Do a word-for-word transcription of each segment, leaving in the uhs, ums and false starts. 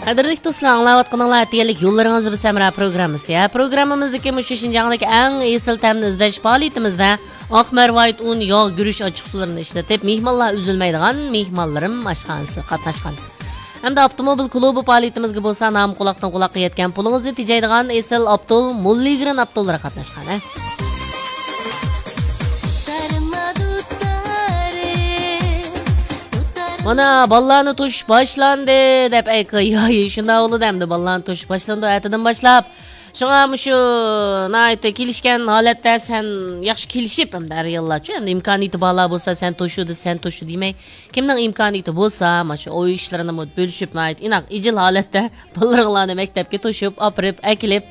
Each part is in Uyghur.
قەدىرلىك دوستلار، ئاڭلاۋاتقىنىڭلار ئەتىگەنلىك يوللىرىڭىزدا بىز ھەمراھ پروگراممىسى. ھە، پروگراممىمىزدىكى مۇشۇ شىنجاڭدىكى ئەڭ ئېسىل تەمنى ئىزدەش پائالىيىتىمىزدە ئاق مەرۋايىت ئۇن، ياغ، گۈرۈچ ئاچچىقسۇلىرىنى ئىشلىتىپ، مېھمانلار ئۈزۈلمەيدىغان مېھمانلىرىم ئاشخانىسى قاتناشقان. ھەمدە ئاپتوموبىل كۇلۇبى پائالىيىتىمىزگە بولسا نام قۇلاقتىن قۇلاققا يەتكەن پۇلىڭىزنى تېجەيدىغان ئېسىل ئابدۇل موللىگرېن ئابدۇللىرى قاتناشقان. ھە. مانا، بالىلارنى توشۇش باشلاندى دەپ ئەيقا-، ياي، شۇنداق بولىدۇ ئەمدى، بالىلارنى توشۇش باشلىنىدۇ ئەتىدىن باشلاپ. شۇڭا مۇشۇ ناھايىتى كېلىشكەن ھالەتتە سەن ياخشى كېلىشىپ، ئەمدى ئەر-ئاياللارچۇ، ئەمدى ئىمكانىيىتى بارلار بولسا سەن توشۇ دېسە سەن توشۇ دېمەي، كىمنىڭ ئىمكانىيىتى بولسا، مانا شۇ ئوي ئىشلىرىنىمۇ بۆلۈشۈپ، ناھايىتى ئىناق، ئىجىل ھالەتتە بالىلىرىڭلارنى مەكتەپكە توشۇپ، ئاپىرىپ، ئەكېلىپ،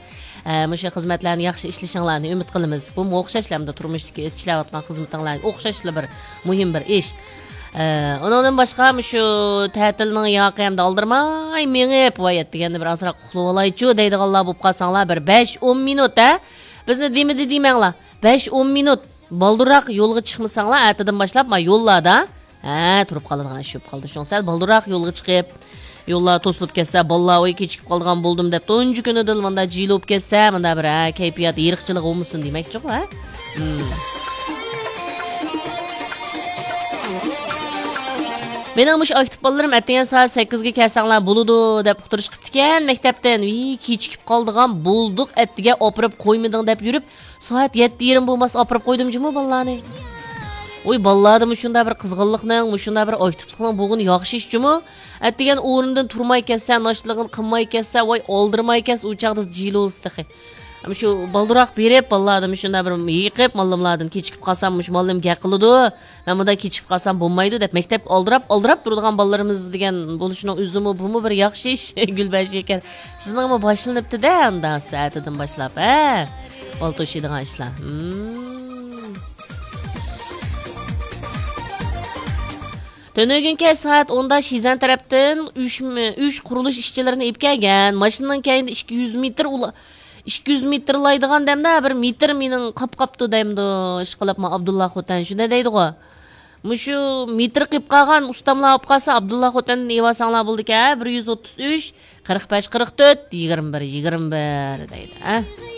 ئە، مۇشۇ خىزمەتلەرنى ياخشى ئىشلىشىڭلارنى ئۈمىد قىلىمىز. بۇمۇ ئوخشاشلا ئەمدى تۇرمۇشتىكى ئىشلەۋاتقان خىزمىتىڭلارغا ئوخشاشلا بىر مۇھىم بىر ئىش. ئە، ئۇنىڭدىن باشقا مۇشۇ تەتىلنىڭ ياقى ئەمدى ئالدىرىماي مېڭىپ، ۋاي، ئەتىگەندە بىر ئازراق ئۇخلىۋالايچۇ دەيدىغانلار بولۇپ قالساڭلار، بىر بەش ئون مىنۇت، ھە؟ بىزنى دېمىدى دېمەڭلار. بەش ئون مىنۇت بالدۇرراق يولغا چىقمىساڭلار، ئەتىدىن باشلاپ، ما، يوللاردا، ھە، تۇرۇپ قالىدىغان ئىش بولۇپ قالدى. شۇڭا سەل بالدۇرراق يولغا چىقىپ، يوللار توسۇلۇپ كەتسە، بالىلار، ۋاي، كېچىكىپ قالىدىغان بولدۇم دەپ، تۇنجى كۈنىدىلا مۇنداق جىلە بولۇپ كەتسە، مۇنداق بىر، ھە، كەيپىيات ئېرىقچىلىقى بولمىسۇن دېمەكچىغۇ، ھە؟ مم. مېنىڭ مۇشۇ ئاكتىپ بالىلىرىم ئەتىگەن سائەت سەككىزگە كەلسەڭلار بولىدۇ دەپ ئۇقتۇرۇش قىپتىكەن مەكتەپتىن. ۋىي، كېچىكىپ قالىدىغان بولدۇق، ئەتىگە ئاپىرىپ قويمىدىڭ دەپ يۈرۈپ، سائەت يەتتە يېرىم بولماسا ئاپىرىپ قويدۇم جۇمۇ بالىلارنى. ۋوي، بالىلاردا مۇشۇنداق بىر قىزغىنلىقنىڭ، مۇشۇنداق بىر ئاكتىپلىقنىڭ بولغىنى ياخشى ئىش جۇمۇ. ئەتىگەن ئورنىدىن تۇرماي كەتسە، ناشتىلىقىنى قىلماي كەتسە، ۋاي، ئالدىرىماي كەتسە، ئۇ چاغدا جىلوسى تېخى. شۇ بالدۇرراق بېرىپ، بالىلاردىن مۇشۇنداق بىر يېقىپ، ماللىملاردىن كېچىكىپ قالسام، مۇشۇ ماللىم گەپ قىلىدۇ. مەن مۇنداق كېچىكىپ قالسام بولمايدۇ دەپ، مەكتەپكە ئالدىراپ، ئالدىراپ تۇرىدىغان بالىلىرىمىز دېگەن بولۇشىنىڭ ئۆزىمۇ، بۇمۇ بىر ياخشى ئىش، گۈلبەشەكەر. سىزنىڭمۇ باشلىنىپتۇ-دە، ئاندا سائەتىدىن باشلاپ، ھە؟ بالا توشۇيدىغان ئىشلار. مم. تۈنۈگۈن كەچ سائەت ئوندا شىزەن تەرەپتىن ئۈچ، ئۈچ قۇرۇلۇش ئىشچىلىرىنى ئېلىپ كەلگەن. ماشىنىنىڭ كەينىدە ئىككى يۈز مېتىر ئۇلا-، ئىككى يۈز مېتىرلايدىغان دەمدە بىر مېتىر مېنىڭ قاپ قاپتۇ دەيمدۇ، ئىشقىلىپمۇ ئابدۇللا خوتەن شۇنداق دەيدىغۇ. مۇشۇ مېتىر قېپ قالغان ئۇستاملار ئاپ قالسا، ئابدۇللا خوتەندىن ئېۋالساڭلار بولىدىكەن، بىر يۈز ئوتتۇز ئۈچ، قىرىق بەش، قىرىق تۆت، يىگىرمە بىر، يىگىرمە بىر دەيدۇ، ھە.